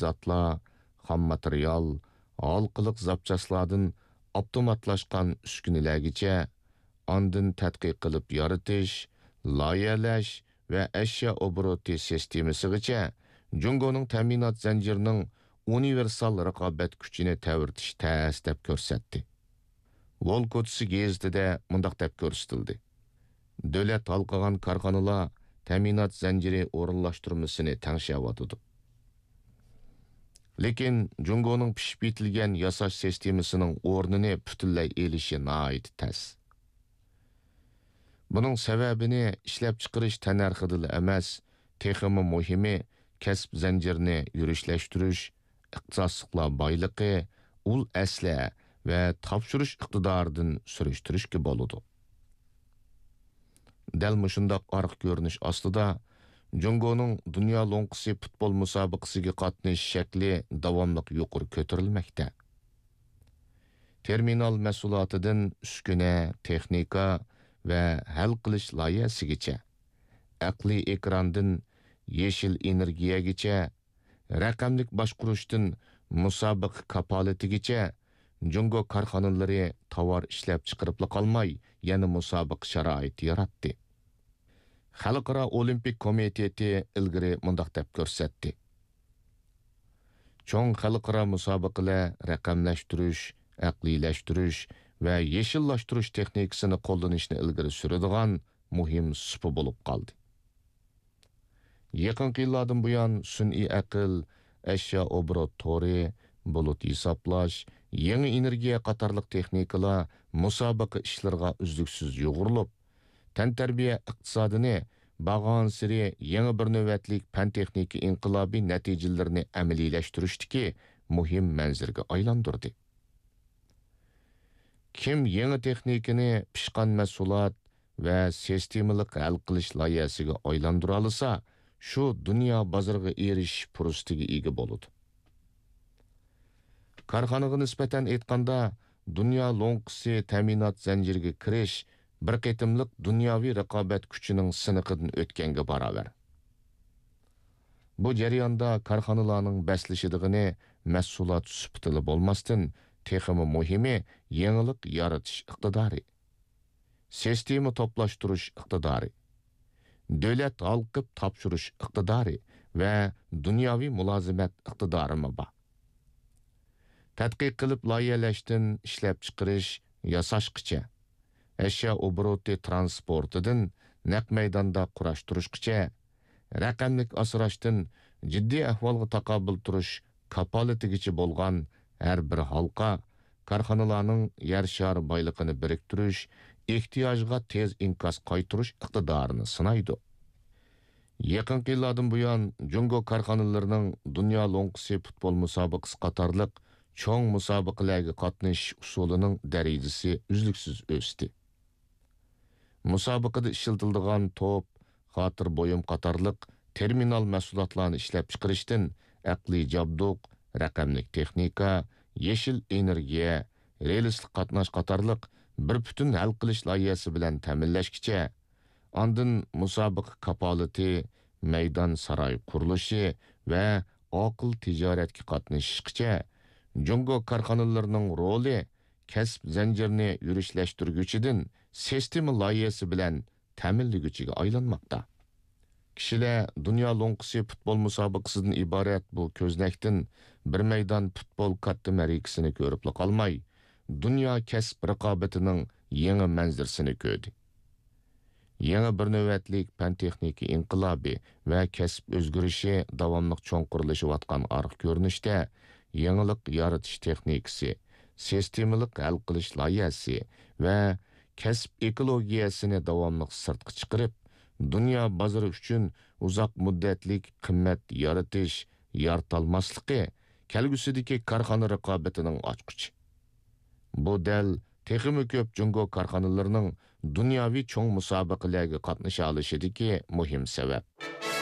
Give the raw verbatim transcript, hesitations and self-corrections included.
زاتلار، خام ماتېرىيال، ھالقىلىق زاپچاسلاردىن ئاپتوماتلاشقان ئۈسكۈنىلەرگىچە، ئاندىن تەتقىق قىلىپ يارىتىش، لايىھەلەش ۋە ئەشيا ئوبوروتى سىستېمىسىغىچە جۇڭگونىڭ تەمىنات زەنجىرىنىڭ ئۇنىۋېرسال رىقابەت كۈچىنى تەۋرىتىش تەس دەپ كۆرسەتتى. ۋولكوتسى گېزىتىدە مۇنداق دەپ كۆرسىتىلدى: دۆلەت ھالقىغان كارخانىلار تەمىنات زەنجىرى ئورۇنلاشتۇرمىسىنى تەڭشەۋاتىدۇ. لېكىن جۇڭگونىڭ پىشىپ يېتىلگەن ياساش سىستېمىسىنىڭ ئورنىنى پۈتۈنلەي ئېلىشى ناھايىتى تەس. بۇنىڭ سەۋەبىنى ئىشلەپچىقىرىش تەننەرخىدىلا ئەمەس، تېخىمۇ مۇھىمى، كەسىپ زەنجىرىنى يۈرۈشلەشتۈرۈش، ئىختىساسلىقلار بايلىقى، ئۇل ئەسلىھە ۋە تاپشۇرۇش ئىقتىدارىدىن سۈرۈشتۈرۈشكە بولىدۇ. دەل مۇشۇنداق ئارقا كۆرۈنۈش ئاستىدا، جۇڭگونىڭ دۇنيا لوڭقىسى پۇتبول مۇسابىقىسىگە قاتنىشىش شەكلى داۋاملىق يۇقىرى كۆتۈرۈلمەكتە. تېرمىنال مەھسۇلاتىدىن ئۈسكۈنە، تېخنىكا ۋە ھەل قىلىش لايىھەسىگىچە، ئەقلىي ئېكراندىن يېشىل ئېنېرگىيەگىچە، رەقەملىك باشقۇرۇشتىن مۇسابىقە كاپالىتىگىچە، جۇڭگو كارخانىلىرى تاۋار ئىشلەپچىقىرىپلا قالماي، يەنە مۇسابىقە شارائىتى ياراتتى. خەلقئارا ئولىمپىك كومىتېتى ئىلگىرى مۇنداق دەپ كۆرسەتتى: چوڭ خەلقئارا مۇسابىقىلەر رەقەملەشتۈرۈش، ئەقلىيلەشتۈرۈش ۋە يېشىللاشتۇرۇش تېخنىكىسىنى قوللىنىشنى ئىلگىرى سۈرىدىغان مۇھىم سۇپا بولۇپ قالدى. يېقىنقى يىللاردىن بۇيان، سۈنئىي ئەقىل، ئەشيا ئوبوروت تورى، بۇلۇت ھېسابلاش، يېڭى ئېنېرگىيە قاتارلىق تېخنىكىلار مۇسابىقە ئىشلىرىغا ئۈزلۈكسىز يۇغۇرۇلۇپ، تەنتەربىيە ئىقتىسادىنى بارغانسېرى يېڭى بىر نۆۋەتلىك پەن-تېخنىكا ئىنقىلابى نەتىجىلىرىنى ئەمەلىيلەشتۈرۈشتىكى مۇھىم مەنزىرىگە ئايلاندۇردى. كىم يېڭى تېخنىكىنى پىشقان مەھسۇلات ۋە سىستېمىلىق ھەل قىلىش لايىھەسىگە ئايلاندۇرالىسا، شۇ دۇنيا بازىرىغا ئېرىشىش پۇرسىتىگە ئىگە بولىدۇ. كارخانىغا نىسبەتەن ئېيتقاندا، دۇنيا لوڭقىسى تەمىنات زەنجىرىگە كىرىش بىر قېتىملىق دۇنياۋى رىقابەت كۈچىنىڭ سىنىقىدىن ئۆتكەنگە باراۋەر. بۇ جەرياندا كارخانىلارنىڭ بەسلىشىدىغىنى مەھسۇلات سۈپىتىلا بولماستىن، تېخىمۇ مۇھىمى، يېڭىلىق يارىتىش ئىقتىدارى، سىستېما توپلاشتۇرۇش ئىقتىدارى، دۆلەت ھالقىپ تاپشۇرۇش ئىقتىدارى ۋە دۇنياۋى مۇلازىمەت ئىقتىدارىمۇ بار. تەتقىق قىلىپ لايىھەلەشتىن ئىشلەپچىقىرىش، ياساشقىچە، ئەشيا ئوبوروتى ترانسپورتىدىن نەق مەيداندا قۇراشتۇرۇشقىچە، رەقەملىك ئاسراشتىن جىددىي ئەھۋالغا تاقابىل تۇرۇش كاپالىتىگىچە بولغان ھەر بىر ھالقا كارخانىلارنىڭ يەر شارى بايلىقىنى بىرىكتۈرۈش، ئېھتىياجغا تېز ئىنكاس قايتۇرۇش ئىقتىدارىنى سىنايدۇ. يېقىنقى يىللاردىن بۇيان، جۇڭگو كارخانىلىرىنىڭ دۇنيا لوڭقىسى پۇتبول مۇسابىقىسى قاتارلىق چوڭ مۇسابىقىلەرگە قاتنىشىش ئۇسۇلىنىڭ دەرىجىسى ئۈزلۈكسىز ئۆستى. مۇسابىقىدە ئىشلىتىلىدىغان توپ، خاتىرە بۇيۇم قاتارلىق تېرمىنال مەھسۇلاتلارنى ئىشلەپچىقىرىشتىن ئەقلىي جابدۇق، رەقەملىك تېخنىكا، يېشىل ئېنېرگىيە، رېلىسلىق قاتناش قاتارلىق بىر پۈتۈن ھەل قىلىش لايىھەسى بىلەن تەمىنلەشكىچە، ئاندىن مۇسابىقە كاپالىتى، مەيدان ساراي قۇرۇلۇشى ۋە ئاقىل تىجارەتكە قاتنىشىشقىچە، جۇڭگو كارخانىلىرىنىڭ رولى كەسىپ زەنجىرىنى يۈرۈشلەشتۈرگۈچىدىن سىستېما لايىھەسى بىلەن تەمىنلىگۈچىگە ئايلانماقتا. كىشىلەر دۇنيا لوڭقىسى پۇتبول مۇسابىقىسىدىن ئىبارەت بۇ كۆزنەكتىن بىر مەيدان پۇتبول كاتتا مەرىكىسىنى كۆرۈپلا قالماي، دۇنيا كەسىپ رىقابىتىنىڭ يېڭى مەنزىرىسىنى كۆردى. يېڭى بىر نۆۋەتلىك پەن-تېخنىكا ئىنقىلابى ۋە كەسىپ ئۆزگىرىشى داۋاملىق چوڭقۇرلىشىۋاتقان ئارقا كۆرۈنۈشتە، يېڭىلىق يارىتىش تېخنىكىسى، سىستېمىلىق ھەل قىلىش لايىھەسى ۋە كەسىپ ئېكولوگىيەسىنى داۋاملىق سىرتقا چىقىرىپ، دۇنيا بازىرى ئۈچۈن ئۇزاق مۇددەتلىك قىممەت يارىتىش، يارىتالماسلىقى كەلگۈسىدىكى كارخانا رىقابىتىنىڭ ئاچقۇچى. بۇ دەل تېخىمۇ كۆپ جۇڭگو كارخانىلىرىنىڭ دۇنياۋى چوڭ مۇسابىقىلەرگە قاتنىشالىشىدىكى مۇھىم سەۋەب.